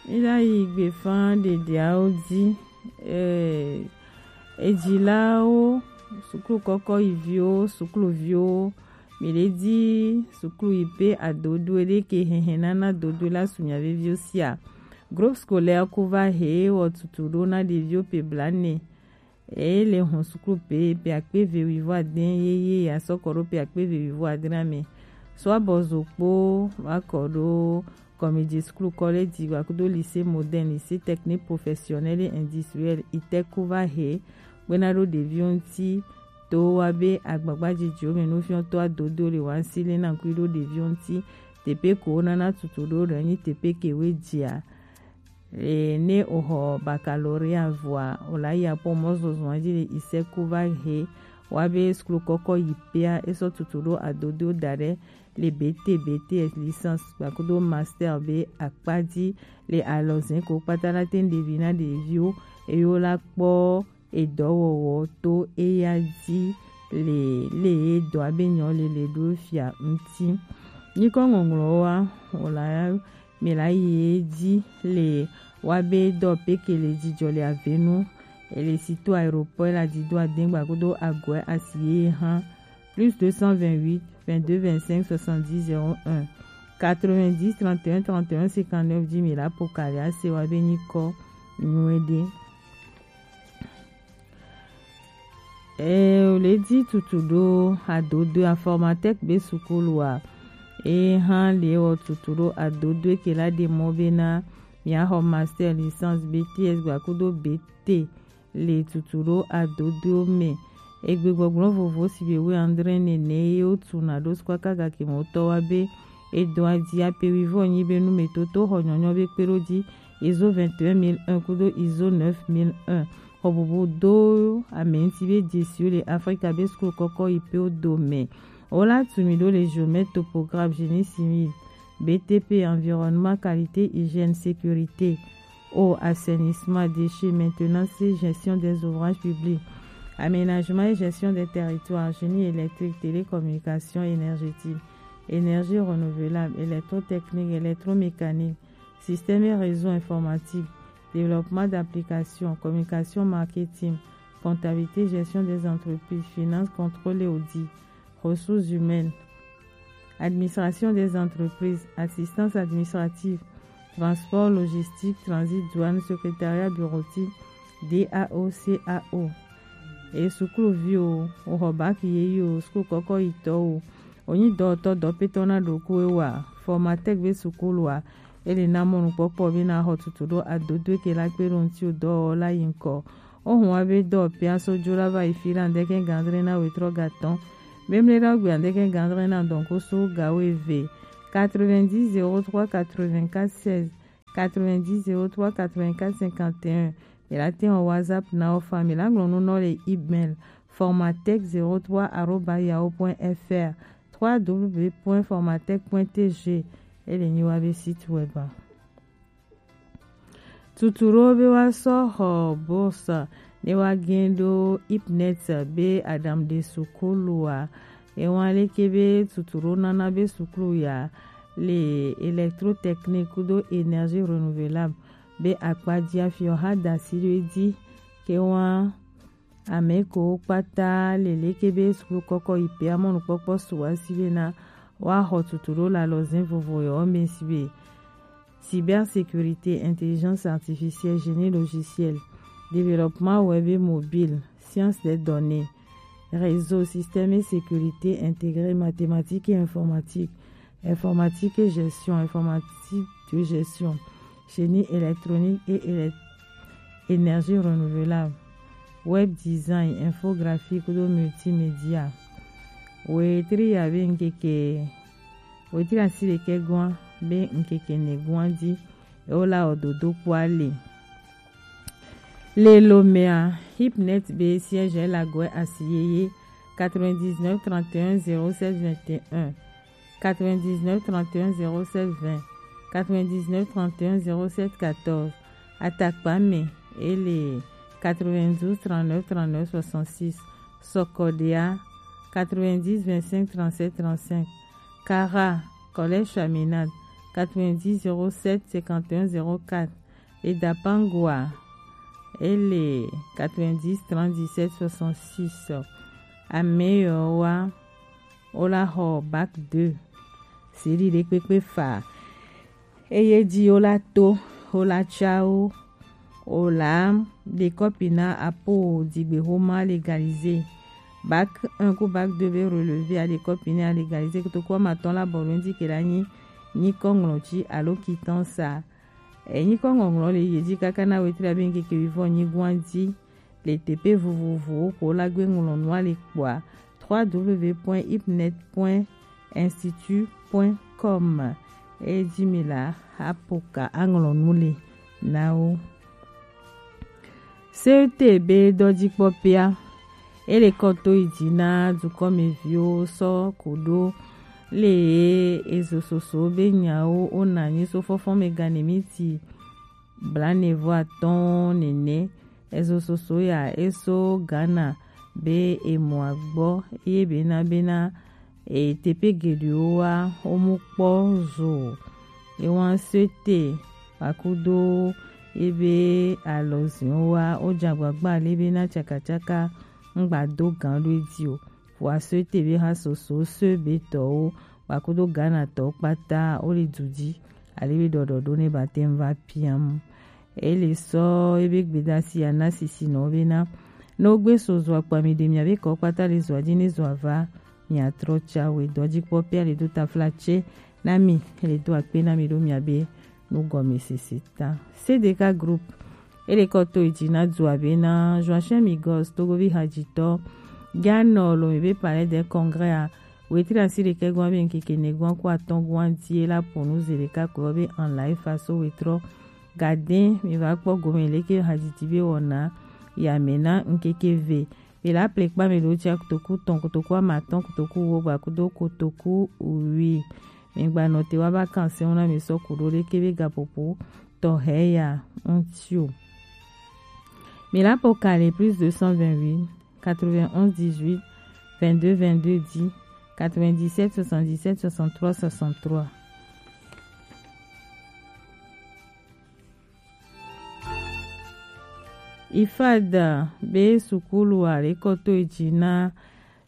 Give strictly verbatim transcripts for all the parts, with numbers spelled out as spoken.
Mí la yi gbefa ɖeɖeawo ji. Eh, ejilawo, suklu kɔkɔ yi viwo, sukluviwo, mi ɖe di suklu yi pe adodo ɖe ke hɛhɛ nana dodo la su mia veviwo sia. Groupe scolaire Kuva he wɔ tutu ɖo na ɖeviwo pe bla ne. Eye le hɔn suklu pe pe akpe ve wivo adɛn yeye ya sɔ kɔ ɖo pe akpe ve wivo adɛn na mɛ. So abɔ zo kpo wa kɔ ɖo Comédie School, Collège Digba kudo Lycée Moderne, Lycée Technique Professionnel et Industriel, ITEC Kuva he gbena ɖo ɖeviwo ŋuti to wa be agbagba jijiwo mɛ nufiɔtɔ adodo le wa si le na kui ɖo ɖeviwo ŋuti. Tepe ko wo nana tutu ɖo ɖe nyi tepe ke we jia. E, ne o xɔ baccalauréat vɔa, o la yi apɔ mɔzɔzɔa ji le ITEC Kuva he wa be suklu kɔkɔ yi pea, e sɔ tutu ɖo adodo da ɖe le B T, B T S, licence, kpakudo master be akpa ji le alɔzɛn ko kpata la te ɖevi na ɖeviwo, eye wo la kpɔ edɔwɔwɔ to eya ji le, le edɔa be nyɔ le le ɖo fia ŋuti. Nyikɔ ŋɔŋlɔ wa, o la mi la yi edzi le wa be dɔ peke le jijɔ le avenu. E le sito aéroport la di do adengba kudo agɔɛ asi ye hã. Plus deux cent vingt-huit, vingt-deux, vingt-cinq, soixante-dix, zéro un, quatre-vingt-dix, trente et un, trente et un, cinquante-neuf, dix mille apo kali ase wa be nyikɔ nyuie ɖe. E, o le di tutu ɖo adodo Informatec be sukulu a. E hã le wɔ tutu ɖo adodo ke la ɖe mɔ be na mia xɔ master, licence, B T S gba kudo B T le tutu ɖo adodo mɛ. Egbe gbɔgblɔ vovo si be we andre nene ye wo tu na ɖo sukɔ kaga ke mɔ tɔ wa be edɔn adi ape wi vɔ nyi be nu me toto xɔ nyɔnyɔ be kpe ɖo ji, ISO vingt et un mille un kudo ISO neuf mille un. Xɔ bubu do ame ŋuti be dzesiwo le Afrika be sukulu kɔkɔ yi pe wo do mɛ. Wo la tu mi ɖo le géomètre, topographe, génie civil, B T P, environnement, qualité, hygiène, sécurité, eau, assainissement, déchets, maintenance et gestion des ouvrages publics, aménagement et gestion des territoires, génie électrique, télécommunication, énergétique, énergie renouvelable, électrotechnique, électromécanique, système et réseau informatique, développement d'applications, communication, marketing, comptabilité, gestion des entreprises, finance, contrôle et audit, ressources humaines, administration des entreprises, assistance administrative, transport, logistique, transit, douane, secrétariat bureautique, D A O, C A O. E sukuluvi o, o xɔ bac yeye o, sukulu kɔkɔ yi tɔ o, o nyi dɔwɔtɔ dɔpetɔ na ɖokuiwò a, Formatec be sukulu a, e le na mɔnukpɔkpɔ be na xɔ tutu ɖo adodo ke la kpe ɖo ŋuti o dɔwɔwɔ la yi ŋkɔ. O hun wa be dɔ pia so jo la va yi fi la ŋdɛkɛ gandre na wetrɔ gatɔn. Memle la gbe ŋdɛkɛ gandre na dɔn ko so gawo eve. Quatre-vingt-dix zéro trois quatre-vingt-quatre seize, quatre-vingt-dix zéro trois quatre-vingt-quatre cinquante et un. Mi la te wɔ WhatsApp na o fa, mi la ŋlɔ nu nɔ le email formatec zéro trois arobase yahoo point F R, trois W point formatec point T G, e le nyi wa be site web a. Tutu ɖo be wa sɔ xɔ bourse ne wa gɛn ɖo IPNET be aɖaŋuɖe sukulu a. E wa leke be tutu ɖo nana be sukulu ya le électrotechnique kudo énergie renouvelable be akpa ji afi o ha da asi ɖo edzi ke wa ame ko kpata le leke be sukulu kɔkɔ yi pe amɔnukpɔkpɔ su wa si be na wa xɔ tutu ɖo le alɔzɛn vovo yɔ me si be cybersécurité, intelligence artificielle, génie logiciel, développement web et mobile, science des données, réseau, système et sécurité intégrée, mathématiques et informatique, informatique et gestion, informatique de gestion, génie électronique et élec-, énergie renouvelable, web design, infographie kudo multimédia. Wetri ya be ŋkeke, wetri asi ɖekɛ gɔa be ŋkeke ne gɔa ji, e wo la wɔ dodo kpɔ ale. Le Lomea, IPNET be siège la gɔe asi yeye quatre-vingt-dix-neuf trente et un zéro sept vingt et un, quatre-vingt-dix-neuf trente et un zéro sept vingt, quatre-vingt-dix-neuf trente et un zéro sept quatorze. Atakpa me, e le quatre-vingt-douze trente-neuf trente-neuf soixante-six. Sɔkɔɖea, quatre-vingt-dix vingt-cinq trente-sept trente-cinq. Kara, Collège Chaminade, quatre-vingt-dix zéro sept cinquante et un zéro quatre. Eda Pangua, ele quatre-vingt-dix trente-dix-sept soixante-six. Ameyo wa, o la xɔ bac deux. Siri ɖe kpekpe fa. Eye ji o la to, o la tsa o, o la ɖe kɔpi na apo dzigbexoma légalisé. Bac un ku bac deux be relevé a ɖe kɔpi na légalisé. Kotoku ame atɔ̃ la bɔ ɖo ŋdi ke la nyi nyikɔ ŋlɔti alo quittance a. Enyikɔ ŋɔŋlɔ le ye ji kaka na wetri abe ŋkeke wuievɔ nyigoa ji. Le teƒe vovovowo ko la gbe ŋlɔ nua le kpɔa, trois w point ipnet point institut point com. Eye ji mi la, apoka aŋlɔ nu le na wo. C E T be dɔjikpɔƒea, ele kɔ to yi dzi na dukɔmeviwo sɔ ku ɖo le ye ezo soso be nyawo wona nyi so fɔfɔ me gane miti blaene vɔ atɔ̃ nene. Ezo soso ya eso Ghana be emɔa gbɔ eye bena bena e teƒe geɖewo wa womu kpɔ zo o. Ewa sete kpakudo ebe alɔziwo wa wodze agbagba le bena tsakatsaka ŋgba do gan ɖo edzi o. Vɔa so ete be ha soso so be tɔwo kpakudo Ghana tɔwo kpata wo le du dzi ale be ɖɔɖɔɖo ne ba te ŋu va piam. Ele sɔ ebe gbedasi ana sisi nɔ bena, ne wogbe so zɔa kpa mi ɖe miabe kɔ kpata le zɔa dzi ne zɔa va, miatrɔ tsa we dɔdzikpɔƒea le do taflatse na mi, le do akpe na mi ɖo miabe nugɔmesese ta. C D K Group, ele kɔ to yi dzi na dua bena Joachim Migos, Togovi hadzitɔ, ganɔ lo mi be Palais des Congrès a, wetri asi ɖekɛ gɔn be ŋkeke ne gɔn ku atɔ̃ gɔn di la ponu ze ɖeka ko be en live faso wetrɔ. Gade mi va kpɔ gome leke hadzidzi be wɔna ya me na ŋkeke ve. Mi la ple kpa mi ɖo tsia kotoku tɔn kotoku ame atɔ̃ kotoku wo gba kudo kotoku wi. Mi gba nɔ te wa ba kan se na mi sɔ ku ɖo leke be gaƒoƒo tɔxɛ ya ŋuti o. Mi la po kale plus deux cent vingt-huit quatre-vingt-onze dix-huit vingt-deux vingt-deux dix, quatre-vingt-dix-sept soixante-dix-sept soixante-trois soixante-trois. Ifad be sukulu a le kɔ to edzi na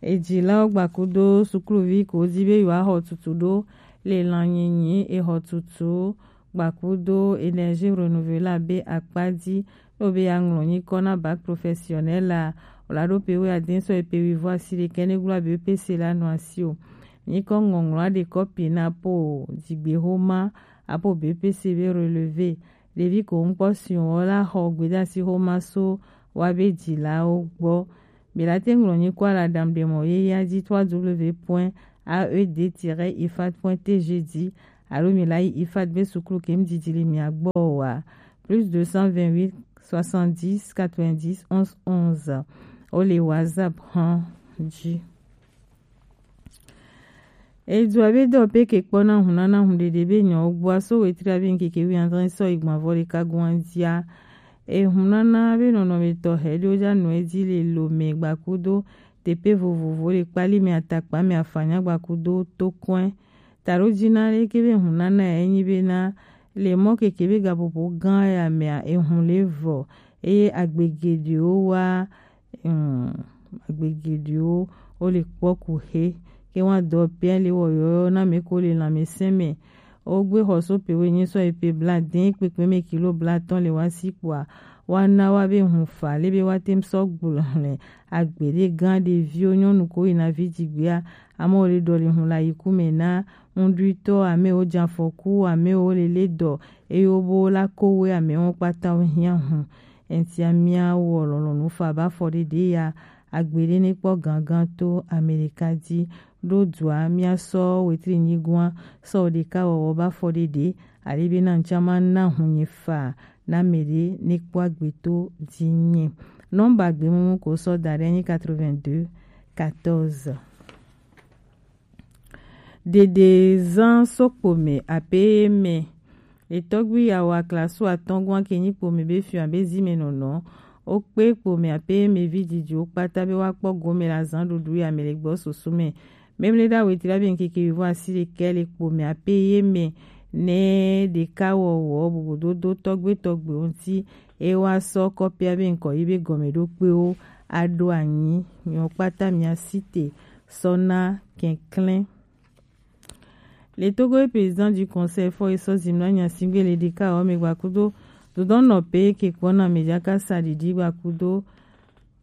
edzilawo gbakudo sukuluvi ko di be yewoaxɔ tutu ɖo le lãnyinyi exɔtutu gbakudo énergie renouvelable akpa dzi. Ne be ya ŋlɔ nyikɔ na bac professionnel la, o la ɖo pe wuiade sɔ yi pe wuievɔ asi ɖekɛ ne gblɔ be P C la nɔ asi o. Nyikɔ ŋɔŋlɔ aɖe kɔpi na po dzigbexoma apo B P C be relevé. Ɖevi ko ŋkpɔ si wɔ la xɔ gbedasi xoma so wa be dzilawo gbɔ. Be la te ŋlɔ nyikɔ la dam ɖe mɔ ye ya dzi trois W point A E D tiret ifad point T G dzi alo mi la yi ifad be sukulu ke ŋdidi le mia gbɔ wa. Plus deux cent vingt-huit soixante-dix quatre-vingt-dix onze onze. O le WhatsApp hã dzi. Edua be dɔ pe ke kpɔ na hun nana hun ɖeɖe be nyɔ gbɔa so wetri abe ŋkeke wi andre sɔ igban vɔ ɖeka gɔn dzia. Ehun nana be nɔnɔme tɔxɛ ɖewo dza nɔ edzi le Lome gbakudo teƒe vovovo le kpali me atakpa me afanya gbakudo tokɔe. Taɖo dzi na leke be hun nana ya enyi be na le mɔ keke be gaƒoƒo gã ya mea ehun le vɔ eye agbe geɖewo wa. Hmm, agbe geɖewo wo le kpɔ ku xe. Ke wa dɔ pia le wɔ yɔyɔ na me ko le lãmesẽ me. Wogbe xɔ so pe wo nyi sɔ yi pe bla de kpekpe me kilo bla tɔn le wa si kpoa wa na wa be hun fa le be wa tem sɔ gblɔ le agbe ɖe gã ɖeviwo nyɔnu ko yina vi dzigbea. Amewo le ɖɔ le hun la yi ku me na ŋɖuitɔ, amewo dze afɔku, amewo le le dɔ eye wo bo la ko we amewo kpata wo hiã hun. Eŋtia míawɔ lɔlɔ̃nu fa be afɔɖeɖe ya agbe ɖe ne kpɔ gangan to Amerika dzi ɖo dua míasɔ wetri nyigɔa sɔ ɖeka wɔwɔ be afɔɖeɖe ale be na ŋtia ma na hunye fa na ame ɖe ne kpɔ agbe to dzi nye. Nɔmba gbemumu ko sɔ da ɖe nyi quatre-vingt-deux quatorze. Ɖeɖe zã so kpome ape ye me. Le tɔgbi yawo aklasu atɔ̃ gɔn ke nyi kpome be fiɔ abe zi me nɔnɔ. Wo kpe kpome ape ye me vi dzidziwo kpata be woakpɔ gome le azã ɖuɖu ya me le gbɔ susu me. Memle ɖa wetri abe ŋkeke wivɔ asi ɖekɛ le kpome ape ye me ne ɖeka wɔwɔ bubudodo tɔgbe tɔgbe ŋuti, e wa sɔ kɔpia be ŋkɔ yi be gɔme ɖo kpewo aɖo anyi. Miwo kpata mia site sɔ na kɛnklɛn. Le Togo ye président du conseil fɔ ye sɔ zimla nya sigbe le ɖeka wɔ me gbakudo dodɔn nɔ pe ke kpɔna me jaka sa ɖiɖi gbakudo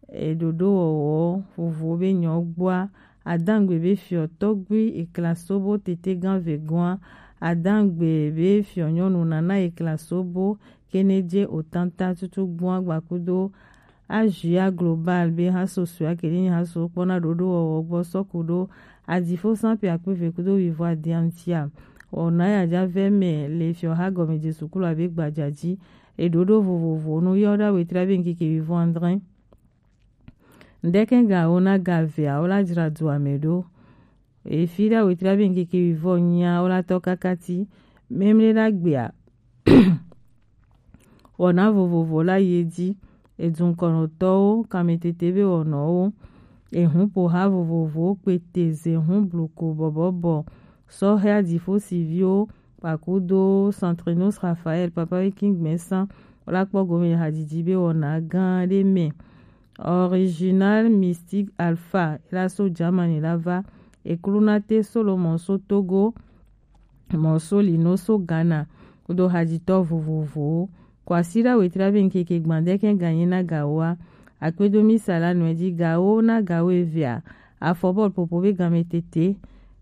eɖoɖo wɔwɔ vovo be nyɔ gbɔa. Adangbe be fiɔ tɔgbi ekla sobo tete gan vegɔa. Adangbe be fiɔ nyɔnu nana ekla sobo kene je otanta tutu gbɔa gbakudo. Azia Global be haso sue akele nyi haso kpɔna ɖoɖo wɔwɔ gbɔ sɔku ɖo adifo san pe akpe ve kudo wivo adiantia. Wɔna ya ja vɛ mɛ le fiɔ ha gɔme Jesu klo abe gbajaji. Eɖoɖo vovovo nu yɔ ɖa wetra be ŋkeke wivo andre. Ŋdɛkɛ ga wo na ga vea wo la dzra du ame ɖo. Efi ɖa wetra be ŋkeke wivo nya wo la tɔ kakati. Memle ɖa gbea. Wɔna vovovo la yi edzi. Edunkɔnɔtɔwo, kametete be wɔnɔwo, ehupoha vovovowo, kpete, zehu, bluku, bɔbɔbɔ, sɔhɛ adifo siviwo, kpakudo Centrinos Raphaël, papa be kin gbɛnsan, wo la kpɔ gome hadzidzi be wɔna gã ɖe mɛ. Original Mystique Alpha, e la so Germany la va, eklunate Solomon so Togo, mɔ so lino so Ghana kudo hadzitɔ vovovowo. Kwasiɖa wetra be ŋkeke gbadɛkɛ ganye na gawoa. Akpedo mi sala nɔe ji gawo na gawo evea. Afɔbɔl popo be game tete.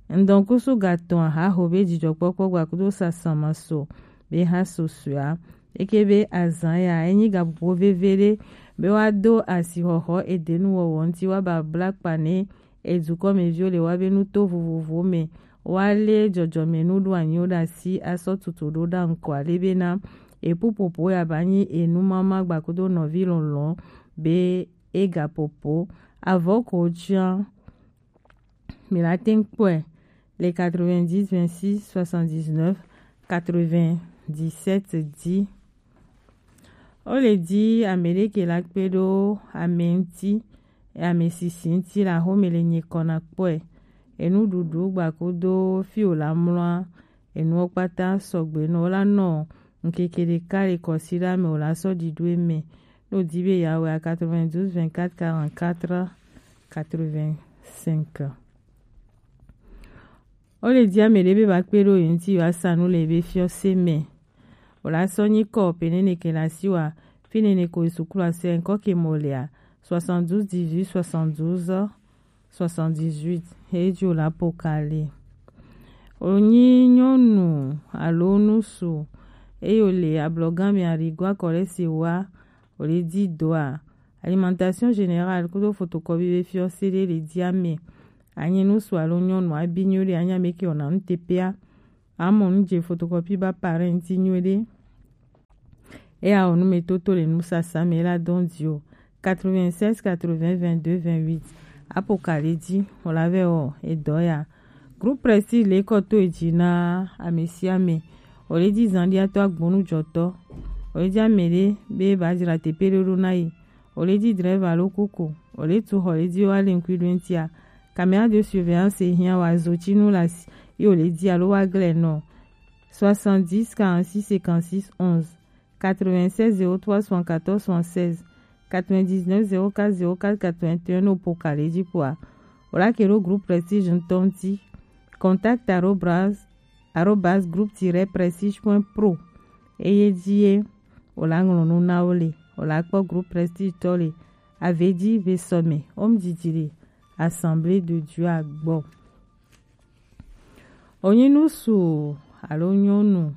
Ŋdɔnkusu gatɔn ahaho be dzidzɔkpɔkpɔ gbakudo sasama so be ha so suea. Eke be azan ya enyi gapopo veve ɖe be wa do asixɔxɔ edenu wɔwɔ ŋuti wa babla kpa ne edukɔmeviwo le wa be nuto vovovowo me wa le jɔjɔme nuɖoanyiwo ɖe asi asɔ tutu ɖo ɖa ŋkɔ ale bena epupopo ya ba nyi enu mama gbakudo nɔvi lɔlɔ be e gapopo avɔ ko tsian. Mi la teŋ kpɔe le quatre-vingt-dix vingt-six soixante-dix-neuf quatre-vingt-dix-sept dix. Wo le di ame ɖe ke la kpe ɖo ame ŋuti, ame sisi ŋuti la xome le nye kɔ na kpɔe. Enuɖuɖu gbakudo fi wo la mlɔa, enuwo kpata sɔgbe nɔ wo la nɔ ŋkeke ɖeka le kɔsiɖa me wo la sɔ ɖiɖo eme. Ne wo di be ya wɛ a quatre-vingt-douze vingt-quatre quarante-quatre quatre-vingt-cinq. Wo le di ame ɖe be ba kpe ɖo ye ŋuti yo asa nu le be fiɔse me. Wo la sɔ nyi kɔ pe nene ke la si wa fi nene ko sukulu ase ŋkɔ ke mɔ lea soixante-douze dix-huit soixante-douze soixante-dix-huit. He ji wo la po ka le. Wo nyi nyɔnu alo nusu eye wo le ablɔgan me arigo akɔ ɖe se wa wo le di doa. Alimentation générale kudo photocopie be fiɔse ɖe le di ame. Anyi nusu alo nyɔnu abi nyuie ɖe anya me ke wɔna nu tepea. Amɔ nu je photocopie ba parent nyuie ɖe. Eya wɔ nu me toto le nusasa me la dɔn di o. Quatre-vingt-seize quatre-vingts vingt-deux vingt-huit. Apo ka le di wo la vɛ wɔ edɔ ya. Groupe Prestige le kɔ to edzi na ame sia ame. Wo le di zandiatɔ agbonu jɔtɔ. Wo le di ame ɖe be ba dzra tepe ɖo ɖo na yi. Wo le di drɛva alo kuku. Wo le tu xɔ le di wa le ŋkui ɖo ŋutia. Caméra de surveillance hiã wa zo tsi nu la si. Yo le di alo wa glɛ nɔ. Soixante-dix quarante-six cinquante-six onze. Quatre-vingt-seize zéro trois soixante-quatorze soixante-seize, quatre-vingt-dix-neuf zéro quatre zéro quatre quatre-vingt-un no po ka le ji kpoa. Wo la ke ɖo groupe Prestige ŋutɔ ŋuti. Contact arobase, arobase groupe tiret prestige point pro. Eye ji ye wo la ŋlɔ nu na wo le. Wo la kpɔ groupe Prestige tɔ le. Ave ji ve sɔme. Wo mu didi le Assemblée de Dieu a gbɔ. Wonyi nusu alo nyɔnu